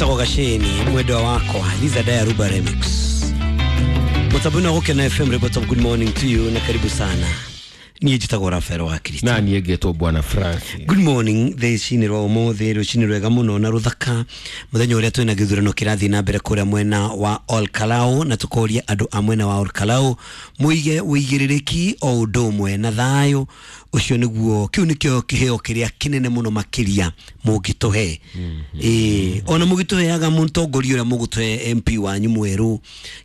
Etagwo Gaceni mwendwa wakwa Liza Daya Ruba Remix. Mutabuni wa Gukena FM, report of good morning to you na karibu sana. Niĩ njĩtagwo Rafael wa Kristo. Na niĩ ngetwo Bwana Francis. Good morning rũcinĩ rwa ũmũthĩ, rũcinĩ rwega mũno na rũthaka, mũthenya ũrĩa twĩna gĩthurano kĩrathiĩ na mbere kũrĩa mwena wa Olkalau, na tũkoria andũ a mwena wa Olkalau mũige ũigĩrĩrĩki o ũndũ ũmwe na thayũ ũcio, nĩguo kĩu nĩkĩo kĩheo kĩrĩa kĩnene mũno makĩria mũngĩtũhe. Ĩĩ, ona mũgĩtũheaga mũtongoria ũrĩa mũgũtũhe MP wanyu mwerũ,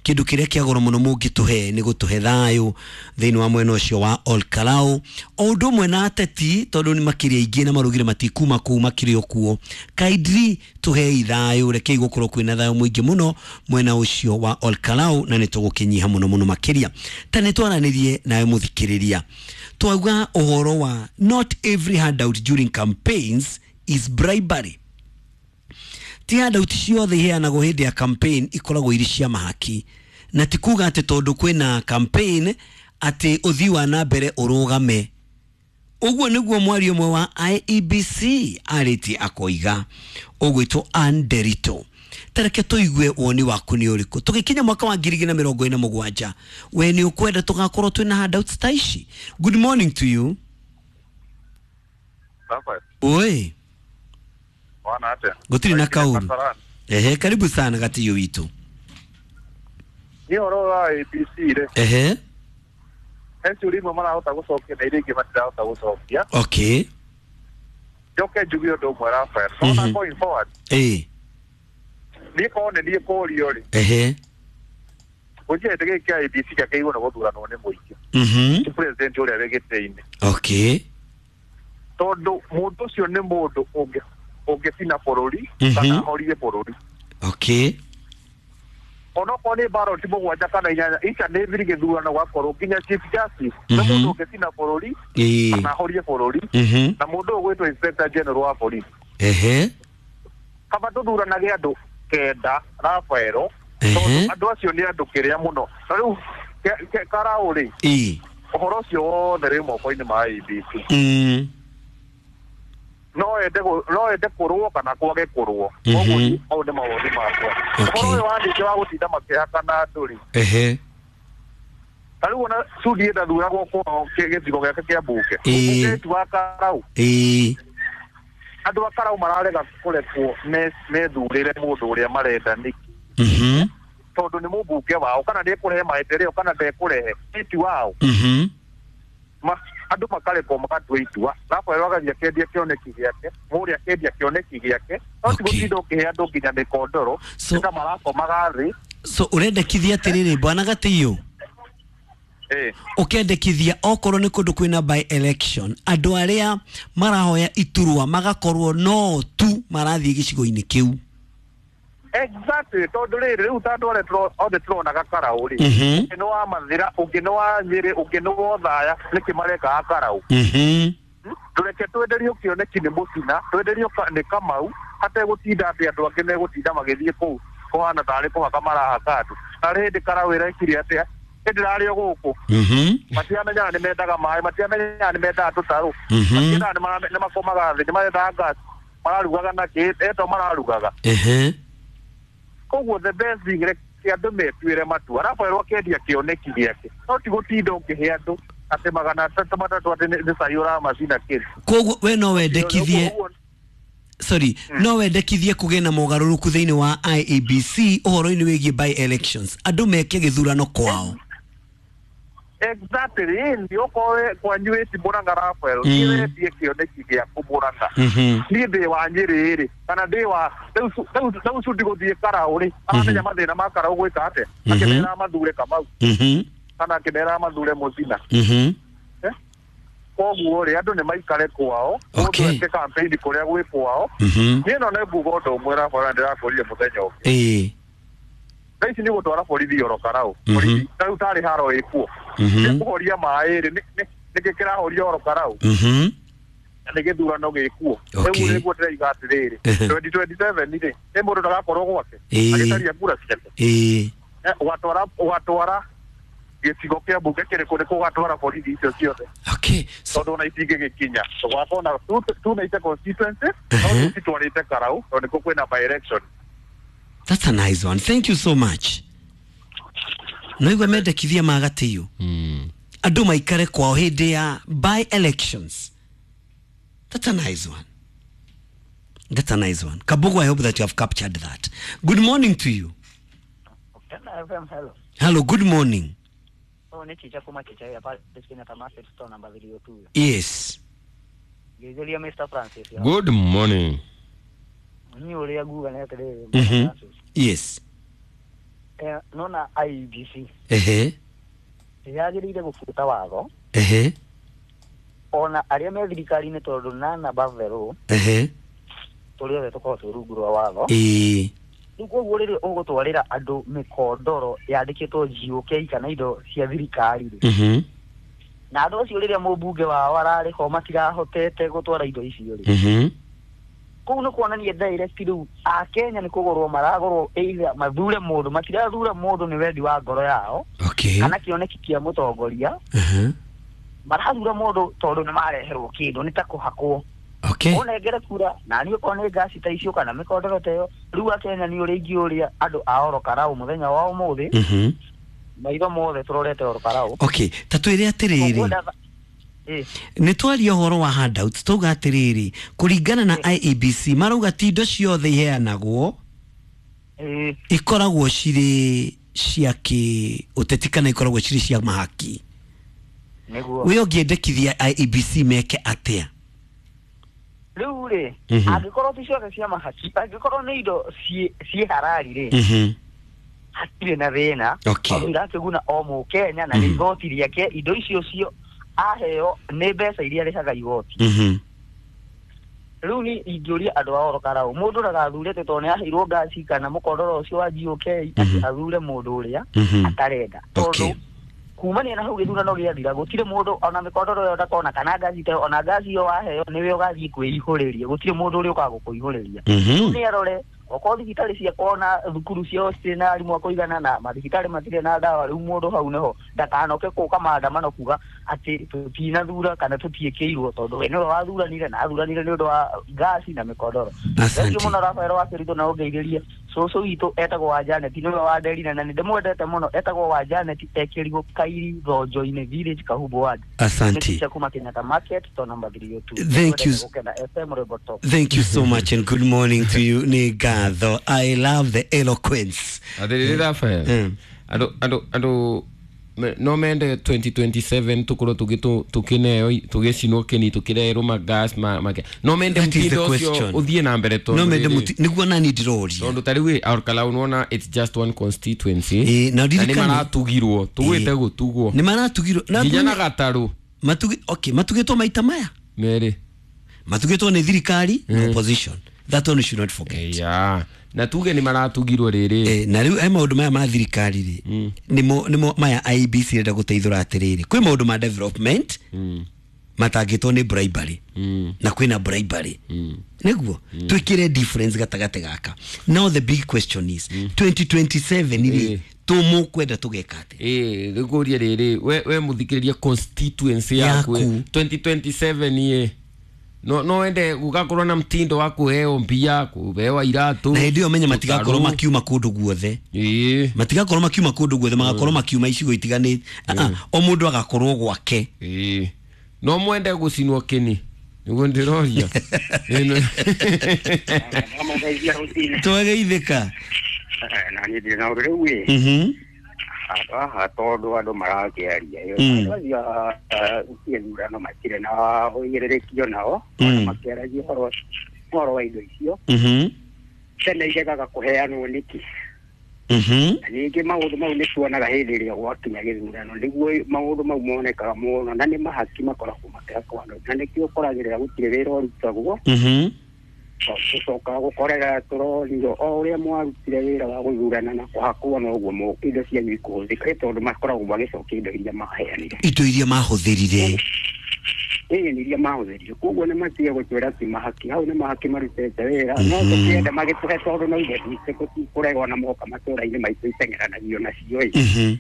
kĩndũ kĩrĩa kĩa goro mũno mũngĩtũhe nĩ gũtũhe thayũ thĩinĩ wa mwena ũcio wa Olkalau, o ũndũ ũmwe na ateti, tondũ nĩ makĩria aingĩ na marugire matikuma kũu makĩrĩ o kuo. Kindly tũhei thayũ, rekei gũkorwo kwĩna thayũ mũingĩ mũno mwena ũcio wa Olkalau, na nĩ tũgũkĩnyiha mũno mũno makĩria. Ta nĩ twaranĩrie nawe mũthikĩrĩria, twauga ũhoro wa not every handout during campaigns is bribery. Ti handout ciothe iheanagwo hĩndĩ ya campaign ikoragwo irĩ cia mahaki, na ti kuga atĩ tondũ kwĩna campaign atĩ ũthii wa na mbere ũrũgame. Ũguo nĩguo mwario ũmwe wa IEBC arĩtie akoiga, ũgwĩtwo Anderito. Tareke tũigue woni waku nĩ ũrĩkũ. Tũgĩkinya mwaka wa 2027, we nĩ ũkwenda tũgakorwo twĩna handouts ta ici? Good morning to you. Rafael, Oi. wana atĩa? Gũtirĩ na kaũru. Kasarani. Ehe, karibu sana gatiyo witũ. Niĩ ũhoro wa ABC rĩ, he ciũria imwe marahota gũcokia na iria ingĩ matirahota gũcokia. Njoke njuge ũndũ ũmwe, Rafael. Ona going forward, niĩ korwo nĩ niĩ kũũrio rĩ, gũtirĩ hĩndĩ gĩkĩ kĩa ABC kĩagĩrĩirwo nĩ gũthuranwo nĩ mũingĩ. Ti president ũrĩa wĩ gĩtĩ-inĩ. Tondũ mũndũ ũcio nĩ mũndũ ũngĩcina bũrũri kana ahorie bũrũri. Onokorwo nĩ ballot 7 kana 8, ica nĩ thiri gĩthurano gwakorwo nginya chief justice nĩ mũndũ ũngĩcina bũrũri kana ahorie bũrũri, na mũndũ ũyũ ũgwĩtwo inspector general wa police. Kaba tũthuranage andũ 9, Rafaelo, tondũ andũ acio nĩ andũ kĩrĩa mũno. Na rĩu Karau rĩ, ũhoro ũcio wothe rĩ moko-inĩ ma IEBC. No ende kũrũo kana kwage kũrũo. Koguo mau nĩ mawoni makwa. Ũhoro ũyũ wa ningĩ wa gũtinda makĩhakana andũ rĩ, ta rĩu ona Sudi ndathuragwo kwao gĩcigo gĩake kĩa mbunge. Mũmbunge ti wa Karau. Andũ a Karau mararega kũrekwo methurĩre mũndũ ũrĩa marenda nĩkĩ? Tondũ nĩ mũmbunge wao, kana nĩ ekũrehe maendeleo kana ndekũrehe, ti wao. Andũ makarekwo magatua itua. Rafael agathiĩ akendia kĩoneki gĩake, mũrĩa akendia kĩoneki gĩake, no ti gũtinda ũkĩhe andũ nginya mĩkondoro, nĩ ta marakomaga thĩ. So ũrendekithia atĩrĩrĩ, bwana Gatiyo, ũkendekithia okorwo nĩ kũndũ kwĩna by election, andũ arĩa marahoya iturwa magakorwo no tu marathiĩ gĩcigo-inĩ kĩu. Exactly, tondũ rĩrĩ rĩu ta andũ arĩa othe tũronaga Karau rĩ, ũngĩ nĩ wa Mathĩra, ũngĩ nĩ wa Nyĩrĩ, ũngĩ nĩ wa Othaya, nĩkĩ marekaga Karau? Tũreke twenderio kĩoneki nĩ Mũcina, twenderio nĩ Kamau, hategũtinda atĩ andũ angĩ megũtinda magĩthiĩ kũu kũhana tarĩ kũhaka marahaka andũ. Na rĩ hĩndĩ Karau ĩrekire atĩa? Hĩndĩ ĩrarĩ o gũkũ. Matiamenyaga nĩ mendaga maĩ, matiamenyaga nĩ mendaga tũtarũ, matiendaga nĩ makomaga thĩ, nĩ marendaga gas, mararugaga na kĩ eto mararugaga. Koguo the best thing, reke andũ metuĩre matua. Rafael akendia kĩoneki gĩake, no ti gũtinda ũkĩhe andũ atĩ 303 atĩ nĩ cai ũramacina kĩrĩ. Koguo we no wendekithie, sorry, no wendekithie kũgĩe na mogarũrũku thĩinĩ wa IEBC ũhoro-inĩ wĩgiĩ by elections, andũ meke gĩthurano kwao. Exactly, nĩ okorwo kwanyu wĩ ti Mũrang'a, Rafael, niĩ wendie kĩoneki gĩaku Mũrang'a. Niĩ ndĩ wa Nyĩrĩ rĩ, kana ndĩ wa rĩu Sudi gũthiĩ Karau rĩ, aramenya mathĩna ma Karau gwĩka atĩa? Akĩmera mathure Kamau kana akĩmera mathure Mũcina. Koguo rĩ, andũ nĩ maikare kwao, mũndũ eke campaign kũrĩa gwĩ kwao. Niĩ no nĩ nguga ũndũ ũmwe, Rafael, ndĩrakũrire mũthenya ũngĩ. Thaa ici nĩ gũtwara borithi oro Karau. Borithi ta rĩu tarĩ haro ĩkuo. Nĩ kũhoria maĩ rĩ, nĩkĩ kĩrahoria oro Karau? Na nĩ gĩthurano gĩkuo. Rĩu nĩguo ndĩraiga atĩrĩrĩ, 2027 rĩ, nĩ mũndũ ndagakorwo gwake agĩcaria kura ciake. Ũgatwara gĩcigo kĩa mbunge kĩrĩkũ nĩkuo ũgatwara borithi icio ciothe? Tondũ ona itingĩgĩkinya. Tũgakorwo na 290 constituency, no tũcitwarĩte Karau tondũ nĩkuo kwĩna by election. That's a nice one. Thank you so much. Noigua mendekithia ma gatĩyo andũ maikare kwao hĩndĩ ya by elections. That's a nice one. That's a nice one. Kabugu, I hope that you have captured that. Good morning to you. FM, hello. Hello, good morning. Oh, ni chicha kuma chicha ya pale Kenyatta Market store number 302. Yes. Gezelia Mr. Francis. Ya. Good morning. Ni uria guga na atiri. Yes. Nona IEBC. Ehe. Yagirire gubuta watho. Ehe. Ona aria me thirikari-inĩ tondũ nana bavero. Ehe. Tũrĩ othe tũkoragwo twĩ rungu rwa watho. Ĩĩ. Rĩu koguo rĩrĩa ũgũtwarĩra andũ mĩkondoro yandĩkĩtwo GOK kana indo cia thirikari rĩ. Na andũ acio rĩrĩa mũmbunge wao ararĩ ho matirahotete gũtwara indo icio rĩ. Kũu nĩ kuonania direct rĩu Akenya nĩ kũgũrwo maragũrwo either mathure mũndũ matirathura mũndũ nĩ wendi wa ngoro yao. Okay. Kana kĩoneki kĩa mũtongoria. Marathura mũndũ tondũ nĩ mareherwo kĩndũ nĩ ta kũhakwo. Okay. Ũnengere kura na niĩ okorwo nĩ ngaci ta icio kana mĩkondoro ta ĩyo rĩu Akenya nĩ ũrĩa ingĩũria andũ a Ol Kalou mũthenya wa ũmũthĩ. Maitho mothe tũrorete Ol Kalou. Okay, ta twĩre atĩrĩrĩ. Nĩ twaria ũhoro wa handouts tauga atĩrĩrĩ kũringana na IEBC marauga ti indo ciothe iheanagwo ikoragwo cirĩ cia kĩ ũteti kana ikoragwo cirĩ cia mahaki. Nĩguo. We ũngĩendekithia IEBC meke atĩa? Rĩu rĩ angĩkorwo ti ciothe cia mahaki angĩkorwo nĩ indo ciĩ harari rĩ hatirĩ na thĩna. Okay. Irakĩguna o mũkenya na nĩ igoti rĩake indo icio cio aheo nĩ mbeca iria arĩhaga igoti. Rĩu ni ingĩũria andũ a Ol Kalou mũndũ ndagathurĩte tondũ nĩ aheirwo ngaci kana mũkondoro ũcio wa GOK atĩ athure mũndũ ũrĩa atarenda. Tondũ kumania na hau gĩthurano gĩathira gũtirĩ mũndũ ona mĩkondoro ĩyo ndakona kana ngaci ta ona ngaci ĩyo waheo nĩwe ũgathiĩ kwĩihũrĩria gũtirĩ mũndũ ũrĩa ũkaga gũkũihũrĩria. Nĩ arore okorwo thibitarĩ ciakwa na thukuru ciao citirĩ na arimũ a kũigana na mathibitarĩ matirĩ na ndawa rĩu mũndũ hau nĩho ndakanoke kũka maandamano kuga atĩ tũtinathura kana tũtiĩkĩirwo tondũ we nĩwe wathuranire na athuranire nĩ ũndũ wa ngaci na mĩkondoro. Thengiũ mũno Rafael wa Kĩritũ na ũngeithĩrie cũcũ witũ etagwo wa Janet nĩwe wa Nderina na nĩndĩmwendete mũno etagwo wa Janet ekĩrigwo Kairi Thonjo-inĩ village Kahumbu ward. Asante. Kuma Kenyatta Market to number 302. Thank you. Thank you so much and good morning to you ni Gatho. I love the eloquence. Atĩrĩrĩ Rafael. Andũ no mende 2027 tukorwo tukineo tugicinwo kini tukirerwo magas ma no mende mutindo ucio uthie na mbere tondu no mende niguo nani ndiroria tondu ta riu Ol Kalou nona it's just one constituency na ni maratugirwo tugwite gutugwo ni maratugirwo nginya na gataru matugi okay matugitwo maita maya mere matugitwo ni thirikari na opposition. That one you should not forget. Yeah. Na tuge ni maratugirwo riri. Na riu maundu maya ma thirikari ri nimo maya IEBC renda guteithura atiriri kwi maundu ma development matangitwo ni bribery na kwina bribery niguo twikire difference gatagate gaka. Now the big question is 2027 ri tumukwenda tugeka ati rikuria riri we muthikiriria constituency yaku 2027 ye no ende gugakorwo na mtindo wa kuheo mbia kuhewa iratu na hindi menye matigakorwo makiuma kundu guothe matigakorwo makiuma kundu guothe magakorwo makiuma icigo itiganite o mundu agakorwo gwake no mwende gucinwo kini niguo ndiroria twageithika na ni ndina na riu haha tondu andu marakiaria iyo gĩthurano matirĩ na ũigĩrĩrĩkio nao makĩaragia ũhoro wa indo icio tene iregaga kũheanwo nĩkĩ na ningĩ maũndũ mau nĩ tuonaga hĩndĩ ĩrĩa gwakinya gĩthurano nĩguo maũndũ mau monekaga mũno na nĩ mahaki makoragwo makĩhakwo andũ na nĩkĩo ũkoragĩrĩra gũtirĩ wĩra ũrutagwo gũcoka gũkorera tũronio o ũrĩa mwarutire wĩra wa gũthurana na kũhakwo noguo indo cianyu ikũhũthĩka tondũ makoragwo magĩcokia indo iria maheanire indo iria mahũthĩrire nĩ iria mahũthĩrire koguo nĩ matige gũtwĩra ti mahaki hau nĩ mahaki marutĩte wĩra no tũkĩenda magĩtũhe tondũ no indo tũtikũregwo na moka matũra-inĩ maitũ iteng'eranagio nacio ĩ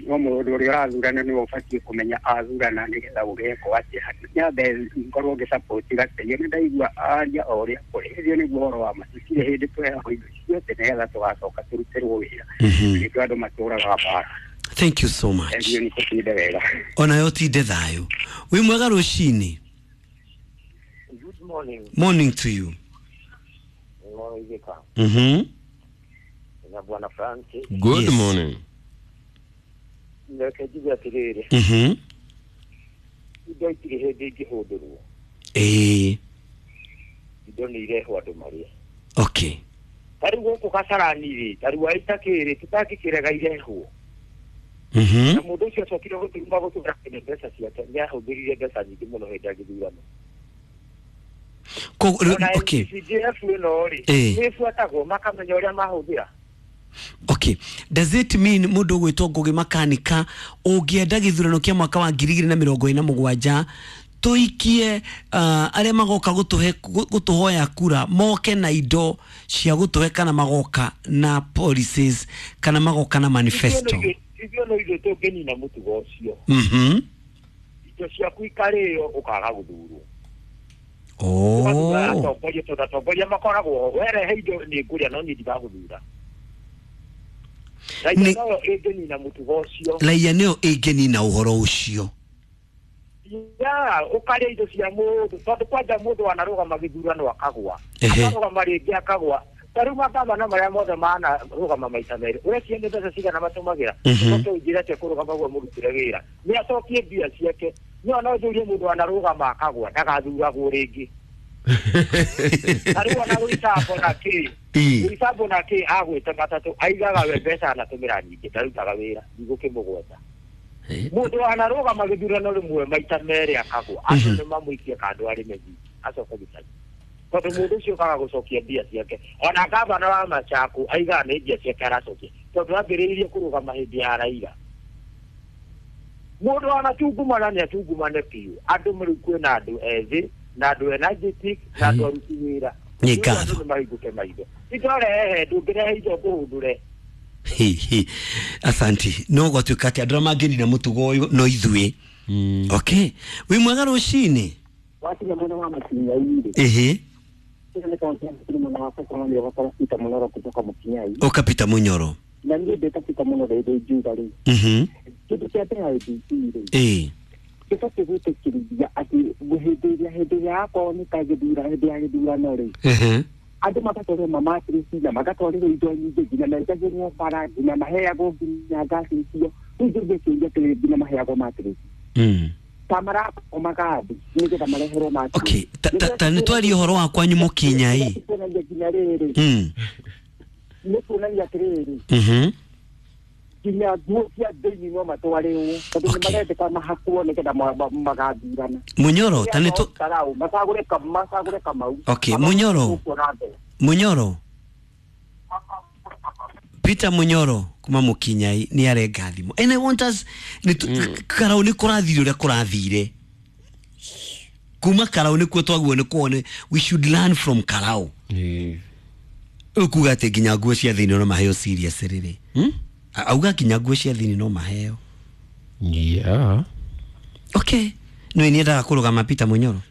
No mũndũ ũrĩa ũrathurana nĩwe ũbatiĩ kũmenya athurana nĩgetha gũgekwo atĩa. Nyambe ngorwo ngĩsupport Gatĩiĩ, nĩ ndaigua aria o ũrĩa kũrĩ. Ĩcio nĩguo ũhoro wa ma. Tũtirĩ hĩndĩ tũheagwo indo ciothe nĩgetha tũgacoka tũrutĩrwo wĩra. Nĩkĩo andũ matũraga mbara. Thank you so much. Thank you, nĩ kũtinde wega. Onayo tinde thayũ. Wĩ mwega rũcinĩ. Good morning. Morning to you. Na Bwana Francis. Good Yes. morning. Reke njuge atĩrĩrĩ. Indo itirĩ hĩndĩ ingĩhũndũrwo. Indo nĩ irehwo andũ marĩe. Okay. Ta rĩu gũkũ Kasarani rĩ, ta rĩu Aitakĩ rĩ, tũtangĩkĩrega irehwo. Na mũndũ ũcio acokire gũtuma gũtũra kĩne mbeca ciake, nĩ ahũthĩrire mbeca nyingĩ mũno hĩndĩ ya gĩthurano. Okay. CDF ĩno rĩ, nĩ ĩbuatagwo makamenya ũrĩa mahũthĩra. Okay. Does it mean mũndũ ũgwĩtwo Ngugi Makanika ũngĩenda gĩthurano kĩa mwaka wa 2027 tũikie arĩa magoka gũtũhoya kura moke na indo cia gũtũhe kana magoka na policies kana magoka na manifesto? Ithuĩ no ithuĩ tũngĩnina mũtugo ũcio. Indo ciaku ikarĩo ũkaga gũthurwo. Atongoria tondũ atongoria makoragwo werehe indo nĩ ngũrĩa no niĩ ndigagũthura. Raia noyo ĩngĩnina mũtugo ũcio. Raia nĩyo ĩngĩnina ũhoro ũcio. Ya, ũkarĩa indo cia mũndũ tondũ kwanja mũndũ wanarũgama gĩthurano akagwa. Akarũgama rĩngĩ akagwa. Ta rĩu magavana marĩa mothe manarũgama maita merĩ. Ũrecia nĩ mbeca cigana matũmagĩra. Ũcoke ũnjĩre atĩa kũrũgama ũguo mũrutĩre wĩra. Nĩ acokie mbia ciake. No no njũrie mũndũ wanarũgama akagwa ndagathuragwo rĩngĩ. Ta rĩu ona Rũicambo na kĩ. Rũicambo na kĩ agwĩte matatũ aigaga we mbeca anatũmĩra nyingĩ ndarutaga wĩra ndigũkĩmũgweta. Mũndũ wanarũgama gĩthurano rĩmwe maita merĩ akagwa andũ nĩ mamũikie kando arĩme nyingĩ acoke gĩcagi. Tondũ mũndũ ũcio ũkaga gũcokia mbia ciake. Ona gavana wa Machakũ aigaga nĩ mbia ciake aracokia tondũ ambĩrĩirie kũrũgama hĩndĩ ya Raila. Mũndũ wanatungumana nĩ atungumane biũ. Andũ rĩu kwĩna andũ ethĩ na andũ energetic na andũ aruti wĩra. Nĩ ngatho. Andũ nĩmahingũke maitho. Indo rehe ndũngĩrehe indo ngũhũndũre. Asanti. No gwatuĩka atĩ andũ arĩa mangĩnina mũtugo ũyũ no ithuĩ. Okay. Wĩ mwega rũcinĩ. Wakinya mwena wa Makinyai rĩ. Ũka Peter Munyoro. Na niĩ ndĩta Peter Munyoro rĩrĩ njuga rĩ. Kĩndũ kĩa mbere IEBC rĩ. Gĩbatiĩ gwĩtĩkĩrithia atĩ hĩndĩ ĩrĩa yakorwo nĩ ta gĩthura hĩndĩ ya gĩthurano rĩ. Andũ magatwarĩrwo mamatirisi na magatwarĩrwo indo nyingĩ nginya menjagĩrwo bara nginya maheagwo nginya ngasi icio. Rĩu njũrie kĩũria atĩrĩrĩ nginya maheagwo matirisi. Ta marakomaga thĩ nĩgetha mareherwo matirisi. Okay, ta nĩ twarie ũhoro wa kwanyu Mũkinyai. Nginya rĩrĩ. Nĩ kuonania atĩrĩrĩ. Nginya nguo cia thĩinĩ no matwarĩrwo tondũ nĩ marendeka mahakwo nĩgetha magathurana. Munyoro ta nĩ macagũre Kamau. Okay, Munyoro. Munyoro. Peter Munyoro kuma Mũkinyai nĩ arenga thimũ. And I want us Karau nĩ kũrathire ũrĩa kũrathire. Kuma Karau nĩkuo twaguo nĩ kuone we should learn from Karau. Ũkuga atĩ nginya nguo cia thĩinĩ no maheo serious rĩrĩ. Auga nginya nguo cia thĩinĩ no maheo. Yeah. Okay. No niendaga kũrũgama Peter Munyoro.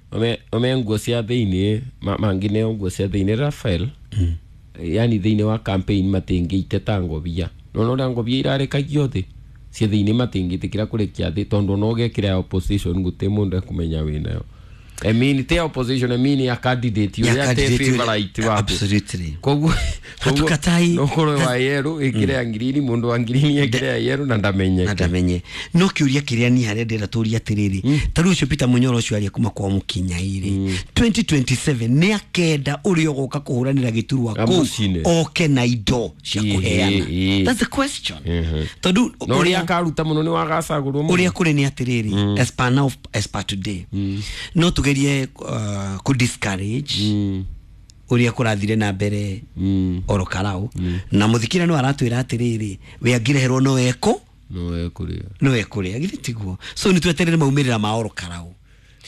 Ome nguo cia thĩinĩ mangĩneo nguo cia thĩinĩ Rafael. Yani thĩinĩ wa campaign matingĩite ta ngobia. No ũrĩa ngobia irarekagio thĩ. Cia thĩinĩ matingĩtĩkĩra kũrekia thĩ tondũ no ũgekĩra opposition gũtirĩ mũndũ ekũmenya wĩnayo. I mean te opposition I mean ya candidate ũrĩa te favorite waku. Absolutely. Koguo hatukatai no korwo wa yerũ ĩkĩre ya ngirini mũndũ wa ngirini ĩkĩre ya yerũ na ndamenye. Na ndamenye. No kĩũria kĩrĩa niĩ harĩa ndĩrenda tũrie atĩrĩrĩ ta rĩu ũcio Peter Munyoro ũcio aria kuma kwa Mũkinyai rĩ 2027 nĩ akenda ũrĩa ũgoka kũhũranĩra gĩturwa kũu oke na indo cia kũheana. That's the question. Tondũ ũrĩa akaruta mũno nĩ wagacagũrwo mũno. Ũrĩa kũrĩ nĩ atĩrĩrĩ as per now as per today no tugerie ku discourage uria kurathire na mbere oro Karau na muthikira no aratwira atiriri we angireherwo no eko no ekuria githĩ tiguo. So ni tweterere maumirira ma oro Karau.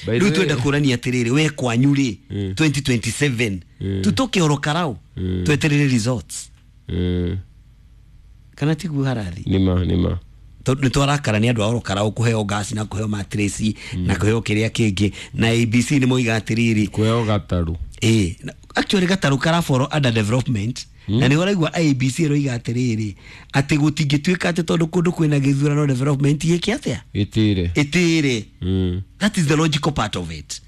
Riu twenda kurania atiriri we kwanyu ri 2027 tutoke oro Karau tweterere results kana tiguo harathi nima Nĩ twarakara nĩ andũ a Orokarau kũheo gas na kũheo mattress na kũheo kĩrĩa kĩngĩ, na ABC nĩ moiga atĩrĩrĩ, Kũheo gatarũ. Ĩĩ, actually gatarũ karaboro under development, na nĩ ũraigua IEBC ĩroiga atĩrĩrĩ, atĩ gũtingĩtuĩka atĩ tondũ kũndũ kwĩna gĩthurano development ĩke atĩa? Ĩtĩre. Ĩtĩre. That is the logical part of it.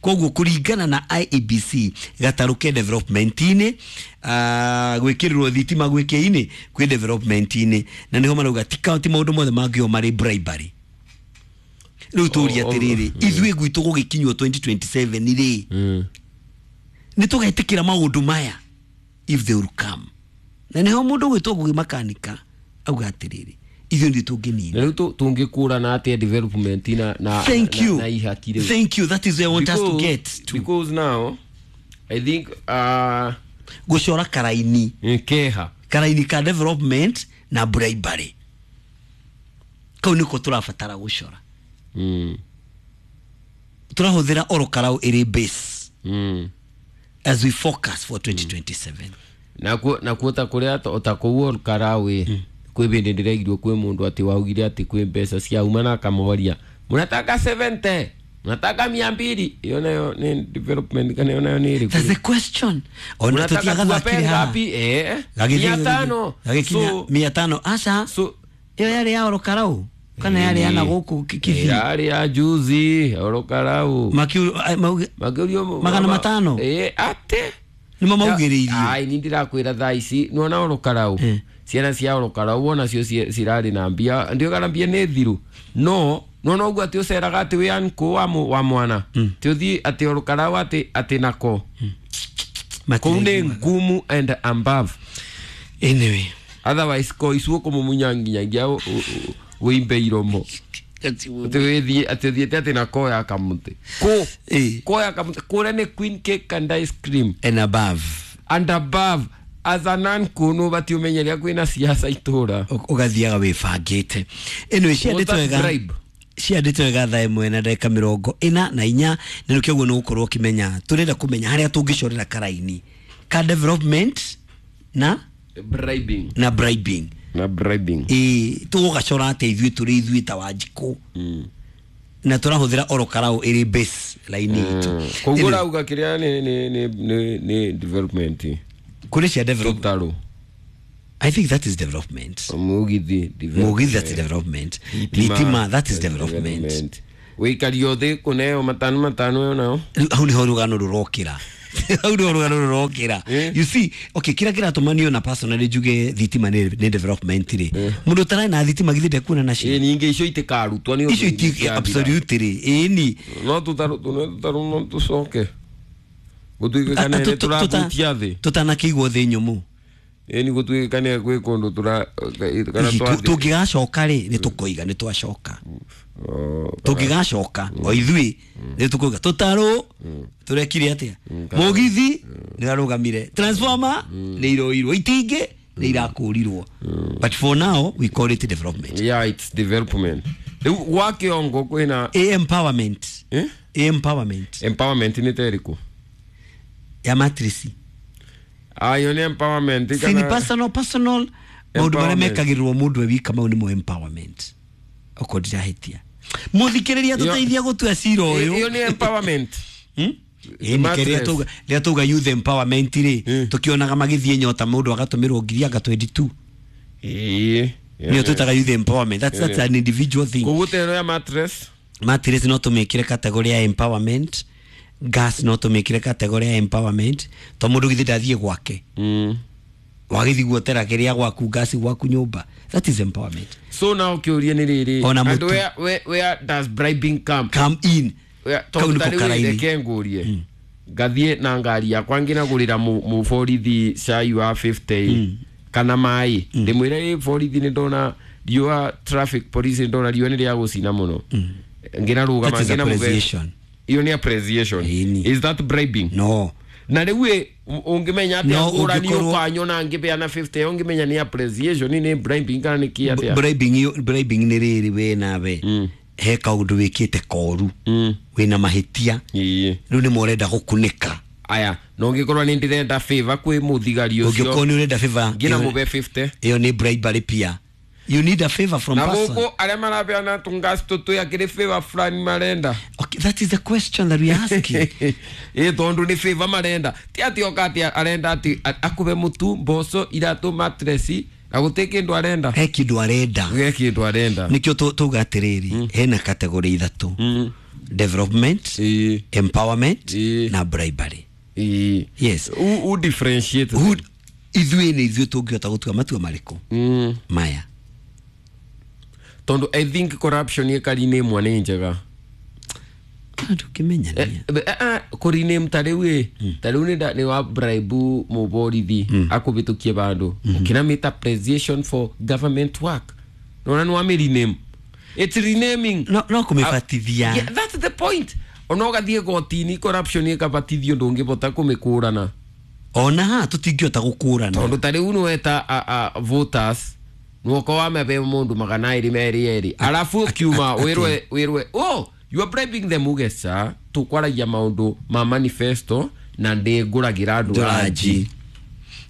Koguo kũringana na IEBC, gatarũ ke development-inĩ, gwĩkĩrĩrwo thitima gwĩkĩ-inĩ kwĩ development-inĩ, na nĩho marauga ti ti maũndũ mothe mangĩo marĩ bribery. Rĩu tũrie atĩrĩrĩ, ithuĩ gwitũ gũgĩkinywo 2027 rĩ, nĩ tũgetĩkĩra maũndũ maya if they will come? Na nĩho mũndũ gwĩtwo Ngugi Makanika auga atĩrĩrĩ, ithuĩ nĩ tũngĩnina. Na rĩu tũngĩkũrana atĩa development na Thank na, you. na ihaki rĩu? Thank you, that is where I want us to get to. Because now I think gũcora karaini keha karaini ka development na bribery, kau nĩko tũrabatara gũcora. Tũrahũthĩra Orokarau ĩrĩ base as we focus for 2027. Nakuo ta kũrĩa ta kũu Olkarau ĩ, kwĩ bĩndĩ ndĩraigirwo kwĩ mũndũ atĩ waugire atĩ kwĩ mbeca ciauma na akamoria, "Mnataka 70, mnataka 200?" Iyo nayo nĩ development kana iyo nayo nĩ ĩrĩkũ? That's the question. Ona Mnataka tuwape tũtiagathakire haha. ngapi? Gagĩthiĩ 500. Gagĩkinya So 500, aca. So ĩyo yarĩ ya Orokarau kana yarĩ ya na gũkũ Kisii? Yarĩ ya juzi Orokarau. Makĩũrio 500? Ate nĩmo maugĩrĩirie. Ai, ni ndĩrakwĩra thaa ici nĩwona Orokarau, ciana cia Orokarau onacio cirarĩ na mbia, ndio kana mbia nĩ thiru, no nona ũguo atĩ ũceraga atĩ wĩ uncle wa mwana atĩ ũthiĩ atĩ Orokarau atĩ nako kũu nĩ ngumu and above. Anyway. Otherwise ko icuo kũmumunya nginyagia wĩimbe iromo atĩ wĩthiĩ atĩ ũthiĩte atĩ na koya kamũtĩ kũ koya kamũtĩ kũrĩa nĩ queen cake and ice cream and above. And above. As an uncle nũ ũbatiĩ ũmenye rĩrĩa kwĩna siasa itũra. Ũgathiaga wĩbangĩte. Anyway, ciandĩtwo What's wega. bribe? Ciandĩtwo wega 1:44, na nĩkĩo ũguo nĩ ũgũkorwo ũkĩmenya tũrenda kũmenya harĩa tũngĩcorera karaini ka development na bribing. Na bribing. Na bribing. Ĩĩ, tũgũgacora atĩa ithuĩ tũrĩ ithuĩ ta Wanjikũ, na tũrahũthĩra Orokarau ĩrĩ base line itũ? Koguo Anyway, ũrauga kĩrĩa nĩ development. Kũrĩ cia development. Tũtarũ. I think that is development. Mũgithi. Mũgithi, that's development. Thitima, that is development. Wĩikario thĩ kũneo matano matano ĩyo nayo. Rĩu hau nĩho rũgano rũrokĩra, hau nĩho rũgano rũrokĩra. You see, okay, kĩrĩa kĩratũma niĩ ona personally njuge thitima nĩ development rĩ, mũndũ ũtararĩ na thitima githĩ ndekuona nacio? Ĩ, ningĩ icio itikarutwo nĩ ũndũ Icio iti nĩciathira. Absolutely, ĩni. No tũtarũ tũne tũtarũ no tũcoke gũtuĩke kana nĩ tũrahutia thĩ. Tũtanakĩigwo thĩ nyũmũ. Ĩni, gũtuĩke kana gwĩ kũndũ tũra kana Hihi twathiĩ. Tũngĩgacoka rĩ, nĩ tũkoiga nĩ twacoka. Oh, Tũngĩgacoka o ithuĩ nĩ tũkoiga tũtarũ tũrekire atĩa, mũgithi nĩ ũrarũgamire, transformer nĩ iroirwo, itingĩ nĩ irakũrirwo, but for now we call it development. Yeah, it's development. Rĩu gwa kĩongo kwĩna A empowerment. Eh? A empowerment. Empowerment nĩ ta ĩrĩkũ? Ya mattress. Ayo nĩ empowerment. Si ni personal maũndũ marĩa Empowerment. mekagĩrĩrwo mũndũ e wika, mau nĩmo empowerment, okorwo ndirahĩtia. Mũthikĩrĩria, tũteithia gũtua cira ũyũ. Ĩyo nĩ empowerment. Ĩĩ, nĩkĩo rĩrĩa tauga youth empowerment rĩ, tũkĩonaga magĩthiĩ nyota, mũndũ agatũmĩrwo ngiri anga 22. Ĩĩ. Nĩyo twĩtaga youth empowerment. That's an individual thing. Koguo ta ĩno ya mattress? Mattress no tũmĩkĩre category ya empowerment, gas no tũmĩkĩre category ya empowerment, to mũndũ githĩ ndathiĩ gwake, wagĩthiĩ guotera kĩrĩa gwaku, gas gwaku nyũmba, that is empowerment. So now kĩũria nĩ rĩrĩ, Ona and mũtu. where does bribing come Come in. Kau Tondũ nĩko ta rĩu karaini. reke ngũrie, ngathiĩ na ngari yakwa ngĩnagũrĩra mũborithi cai wa 50 kana maĩ, ndĩmwĩre, "Ĩ borithi, nĩ ndona riũa, traffic police, nĩ ndona riũa nĩ rĩa gũcina mũno," ngĩnarũgama That is ngĩnamũbe. appreciation. Iyo nĩ appreciation? Ĩni. Is that bribing? No. Na rĩu ĩ, ũngĩmenya atĩa No, ngũrani ũkanyona ngĩbeana 50, ũngĩmenya nĩ appreciation, nĩ bribing kana nĩ kĩ atĩa? Bribing nĩ rĩrĩ, we nawe he kaũndũ wĩkĩte koru, wĩna mahĩtia, rĩu nĩ morenda gũkunĩka. Aya, no ngĩkorwo nĩ ndĩrenda favor kwĩ mũthigari ũcio, Ũngĩkorwo nĩ ũrenda favor, ngĩna mũbe 50? Ĩyo nĩ bribery pia. You need a favor from Na person. gũkũ arĩa marabeana tũngasi tũtũ akĩrĩ favor fulani marenda. Okay, that is the question that we are asking. Ĩ tondũ nĩ favor marenda, ti atĩ oka atĩ arenda atĩ akũhe mũtu, mboco, iratũ, matresi, na gũtĩ kĩndũ arenda. He kĩndũ arenda. He kĩndũ arenda. Nĩkĩo tuga atĩrĩrĩ, hena category ithatũ: development, empowerment na bribery. Yes. Who differentiate? Who, ithuĩ nĩ ithuĩ tũngĩhota gũtua matua marĩkũ maya? Tondũ I think corruption ĩkari-inĩ ĩmwe nĩ njega. Ndũngĩmenya nĩa. Kũriname ta rĩu ĩ, ta rĩu nĩ wa bribe mũborithi akũbĩtũkie bandũ, ũkĩramĩta appreciation for government work, nona nĩ wamĩ rename. It's renaming. No kũmĩbatithia. Yeah, that's the point. Ona ũgathiĩ gotini, corruption ĩkabatithio, ndũngĩbota kũmĩkũrana. Ona ha tũtingĩhota gũkũrana. Tondũ ta rĩu nĩweta voters, nwoka wamebe mũndũ 200 merĩ erĩ, arabu ũkiuma wĩrwe, "Oh, you are bribing them." Uge, "Ca tũkwaragia maũndũ ma manifesto na ndĩngũragĩra andũ ranji."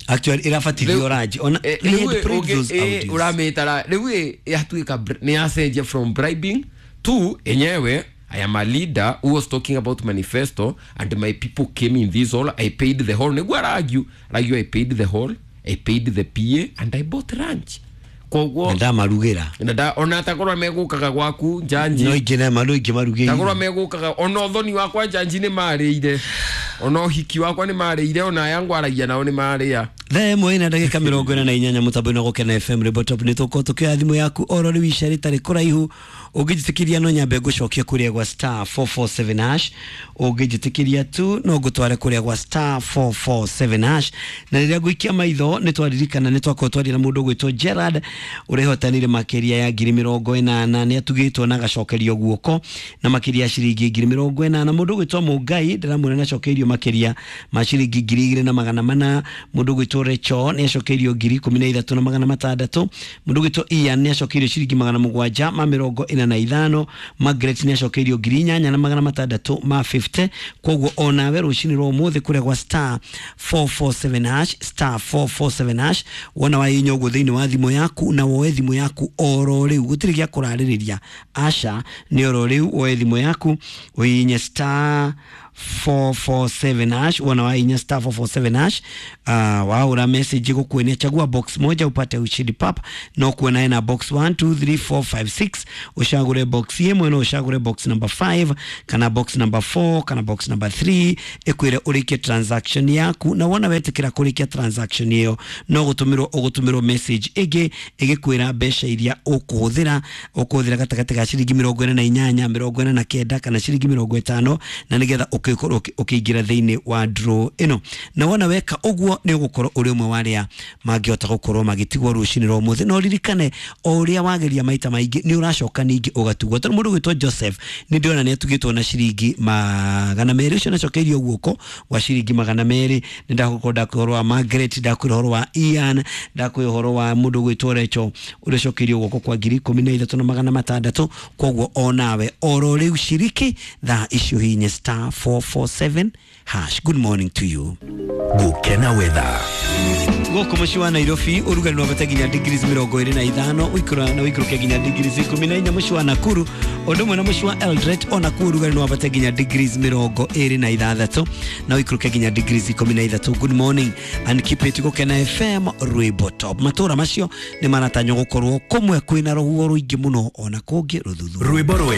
Actually ĩrabatithio ranji ona. We had played those audios. Ũramĩtara rĩu ĩ, yatuĩka nĩ yacenjia from bribing to enyewe, "I am a leader who was talking about manifesto and my people came in this hall. I paid the hall." Nĩguo aragiu, "I paid the hall, I paid the PA and I bought lunch." Koguo Na ndamarugĩra. Na ona takorwo megũkaga gwaku njanji. No ingĩ na no ingĩ marugĩire. Takorwo megũkaga, ona ũthoni wakwa njanji nĩ marĩire, ona ũhiki wakwa nĩ marĩire, ona aya ngwaragia nao nĩ marĩa. Thaa ĩmwe ĩna ndagĩka 48 mũtambo-inĩ wa Gũkena FM Rwĩmbo Top. Nĩ tũkorwo tũkĩoya thimũ yaku oro rĩu ica rĩtarĩ kũraihu. Ũngĩnjĩtĩkĩria no nyambe ngũcokie kũrĩa gwa star 447 hash. Ũngĩnjĩtĩkĩria tu no ngũtware kũrĩa gwa star 447 hash. Na rĩrĩa ngũikia maitho, nĩ twaririkana nĩ twakorwo twaria na mũndũ ũgwĩtwo Gerard ũrehotanire makĩria ya 80,000, nĩ atugĩtwo na agacokerio guoko na makĩria ya ciringi 80,000. Mũndũ ũgwĩtwo Mũngai ndĩramwĩra nĩ acokeirio makĩria ma ciringi 2,400. Mũndũ ũgwĩtwo Recho nĩ acokeirio 13,600. Mũndũ ũgwĩtwo Ian nĩ acokeirio ciringi 745. Margaret nĩ acokeirio 8,650. Koguo onawe rũcinĩ rwa ũmũthĩ kũrĩa gwa star 447 hash, star 447 hash, wona wahihinya ũguo thĩinĩ wa thimũ yaku, na woe thimũ yaku oro rĩu, gũtirĩ gĩa kũrarĩrĩria, aca, nĩ oro rĩu woe thimũ yaku ũhihinye star 447 hash. Wona wahihinya star 447 hash, waura message igukuenia chagua box moja upate ushindi pap. No kuona ena box 1 2 3 4 5 6, ucagure box imwe, no ucagure box number 5 kana box number 4 kana box number 3, ikwire urikie transaction yaku. Na wona wetikira kurikia transaction iyo, no gutumirwo ugutumirwo message ingi igikwira mbeca iria ukuhuthira gatagati ga ciringi 48, 49 kana ciringi 50, na nigetha ukikorwo ukiingira thiini wa draw ino. Na wona weka uguo, ni ugukorwo uri umwe wa aria mangihota gukorwo magitigwo rucini rwa umuthi. No ririkane, o uria wageria maita maingi, ni uracoka ningi ugatugwo. Tondu mundu gwitwo Joseph ni ndĩrona ni atugitwo na ciringi 200, ucio nacokeirio guoko wa ciringi 200. Ni ndagukorwo ndakwĩ ũhoro wa Margaret, ndakwĩ ũhoro wa Ian, ndakwĩ ũhoro wa mũndũ gwitwo Recho ũrĩa ũcokeirio guoko kwa 13,600. Koguo onawe oro rĩu shiriki thaa icio, hinye star 447 hash. Good morning to you. Gukena weather. Gũkũ mũciĩ wa Nairobi ũrugarĩ no wambate nginya degrees 25, ũikũra na ũikũrũke nginya degrees 14. Mũciĩ wa Nakuru ũndũ ũmwe na mũciĩ wa Eldoret, ona kuo ũrugarĩ no wambate nginya degrees 26 na ũikũrũke nginya degrees 13. Good morning and keep it Gũkena FM Rwĩmbo Top. Matũra macio nĩ maratanywo gũkorwo kũmwe kwĩna rũhuho rũingĩ mũno, ona kũngĩ rũthuthuũ. Rwĩmbo rwega.